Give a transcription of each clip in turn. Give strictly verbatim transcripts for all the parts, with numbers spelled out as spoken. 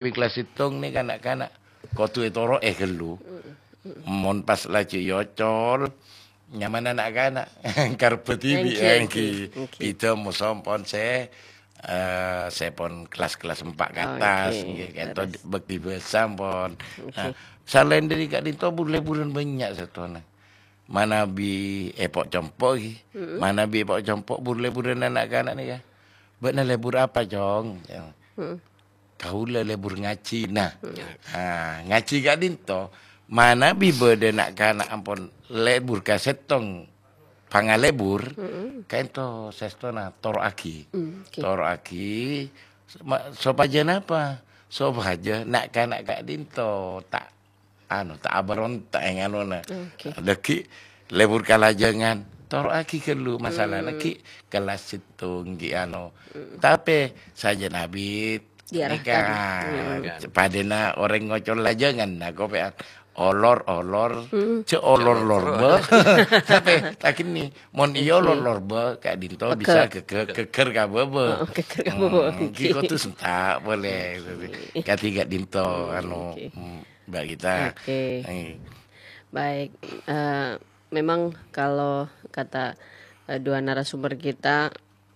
Wi kelas sèttong nèka na'-kana' kodhu ètoro'è ghâllu. Mon pas laju èocol, nyamana na'-kana' karebbhâ dhibi' èngghi. Pidha moso pon sè, eh, sè pon kelas-kelas empat ke atas, ngghi, kento bhâkti bhâsa pon. Nah, salaèn dhâri ka'dinto bur-lèburân bânnya' sèttona. Manabi èpo' compo' ghi. Manabi èpo' compo' bur-lèburân na'-kana' nèka. "Bâ'na lèbur apa, Cong?" "Kaulâ lèbur ngajhi." Nah, ah, ngajhi ka'dinto, manabi bâdâ na'-kana' ampon lèbur ka sèttong pangalèbur, kento sèstona toro'aghi. Toro'aghi, ma-, sopajâ napa? Sopajâ na'-kana' ka'dinto ta' anu, ta' aberonta' è nganona. Dhâggi' lèbur kalajângan, toro'aghi ghâllu masalana ghi' kelas sèttong ghi' anu. Tapè sajân abit nèka padâna orèng ngocol lajângan, nah, kopè'an olor-olor, jhâ' olor-lor bâ. Tapè ta' ghenna', mon iyâ olor-lor bâ, ka'dinto bisa ghegghâr, ghegghâr ka bâbâ. Oh, ghegghâr ka bâbâ. Hmm, ghi' kodhu sènta' polè. Kadhi ka'dinto, anu, hmm. Mbak Gita. Oke. Eh. Baik, eh, memang kalau kata, eh, dua narasumber kita,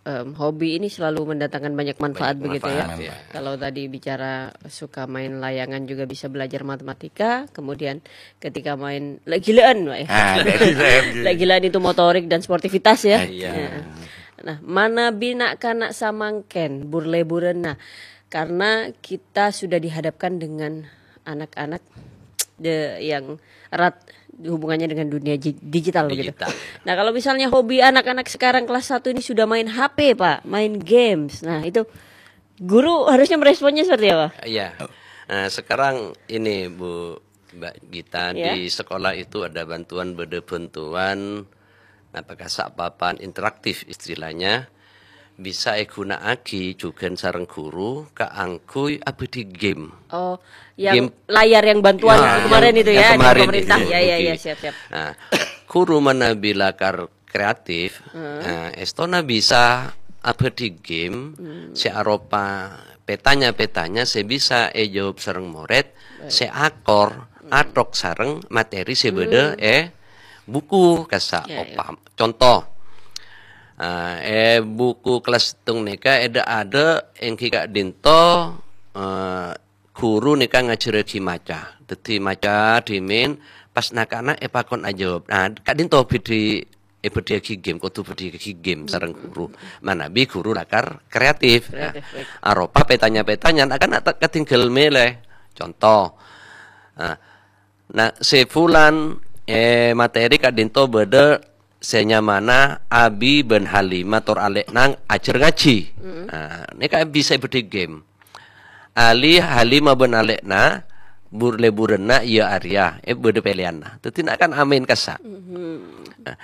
em, hobi ini selalu mendatangkan banyak manfaat begitu ya. Manfaat, ya. Kalau tadi bicara suka main layangan juga bisa belajar matematika, kemudian ketika main lè-ghilâ'ân, Pak, ya. Ah, lè-ghilâ'ân, gitu. Lè-ghilâ'ân itu motorik dan sportivitas ya. Eh, iya. Ya. Nah, manabi na'-kana' samangkèn, bur-lèburân. Nah, karena kita sudah dihadapkan dengan anak-anak de-, yang erat hubungannya dengan dunia ji-, digital begitu. Digital. Nah, kalau misalnya hobi anak-anak sekarang kelas satu ini sudah main H P, Pak, main games. Nah, itu guru harusnya meresponnya seperti apa? Iya. Nah, sekarang ini, Bu, Mbak Gita, ya, di sekolah itu ada bantuan, bâdâ bantuan, napa kasa' papan interaktif istilahnya, bisa èghuna'aghi jhughân sareng guru kaangghuy abâdhi game. Oh, yang game, layar yang bantuan, ya, itu kemarin yang, itu yang ya, dari kemarin pemerintah. Itu. Ya, ya, oke, ya, siap, siap. Nah, guru manabi lakar kreatif, nah, èstona bisa abâdhi game sè aropa petanya-petanya sè bisa èjawab sareng morèd, sè akor, atok sareng materi sè bâdâ è buku, kasa' opam-, conto, eh, è buku kelas sèttong nèka èdâ'-adâ' èngghi ka'dinto, eh, guru nèka ngajhârraghi maca. Dhâddhi maca dhimèn, pas na'-kana' èpakon ajâwâb. Nah, ka'dinto bhidhi-, èbâdhiyâghi game, kodhu bâdhiyâghi game sareng guru. Manabi guru lakar kreatif. Nah, kreatif, baik, aropa petanya-petanya, na'-kana' ta' katèngghâl mèlè. Conto, nah, Nah, sè bulân, eh, materi ka'dinto bâdâ sè nyamana Abi bân Halimah tor alè'na ajhâr ngajhi. Nah, nèka bisa èbâdhi game. Ali, Halimah bân alè'na bur-lèburânna iyâ arèya, eh, bâdâ pèlèyanna. Dhâddhi na'-kana' amaèn kassa'. Nah,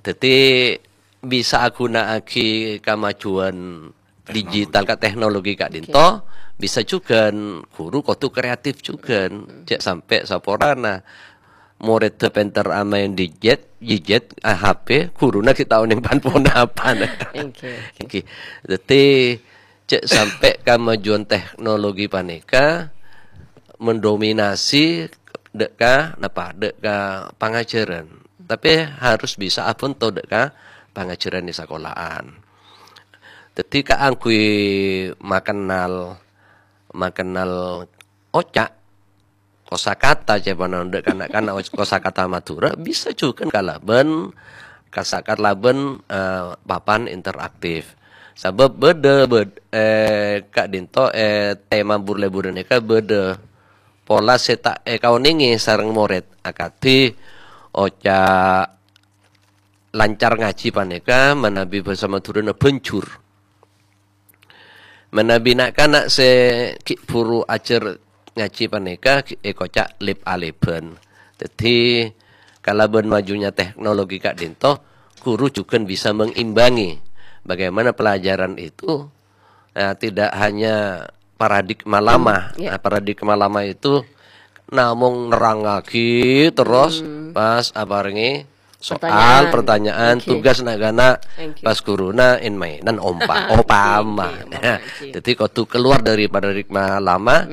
dhâddhi bisa aghuna'aghi kamajuan digital ka teknologi ka'dinto, bisa jhughân guru kodhu kreatif jhughân. Jhâ' sampè' saporana morèdda pènter amaèn dijet, jijet, ah, H P, guruna ghi' ta' onèng pan-ponapa. Oke, oke. Oke. Dhâddhi, jhâ' sampè' kamajuan teknologi panèka mendominasi dâ' ka, napa, dâ' ka pangajhârân. Tapè harus bisa abhânto dâ' ka pangajhârân è sakola'an. Dhâddhi kaangghuy makennal, makennal oca', kosakata ca'èpon dâ' kana'-kana' oc-, kosakata Madhurâ bisa jhughân kalabân, kasa-, kalabân, eh, papan interaktif. Sabâb bâdâ, bâd-, eh, ka'dinto, eh, tema bur-lèburân nèka bâdâ pola sè ta' èkaonèngè sareng morèd, akadhi oca' lancar ngajhi panèka manabi bhâsa Madhurâna bânjur. Manabi na'-kana' sè ghi' bhuru ajhâr ngajhi panèka ghi' èkoca' lèp-alèbhân. Dhâddhi, kalabân majunya teknologi ka'dinto, guru jhughân bisa mengimbangi bagaimana pelajaran itu, eh, tidak hanya paradigma lama. Nah, paradigma lama itu namong nerrangaghi terros pas aparèngè soal, pertanyaan, tugas na'-kana' pas ghuruna en-maènan ompa-, opama. Dhâddhi kodhu kalowar dâri paradigma lama,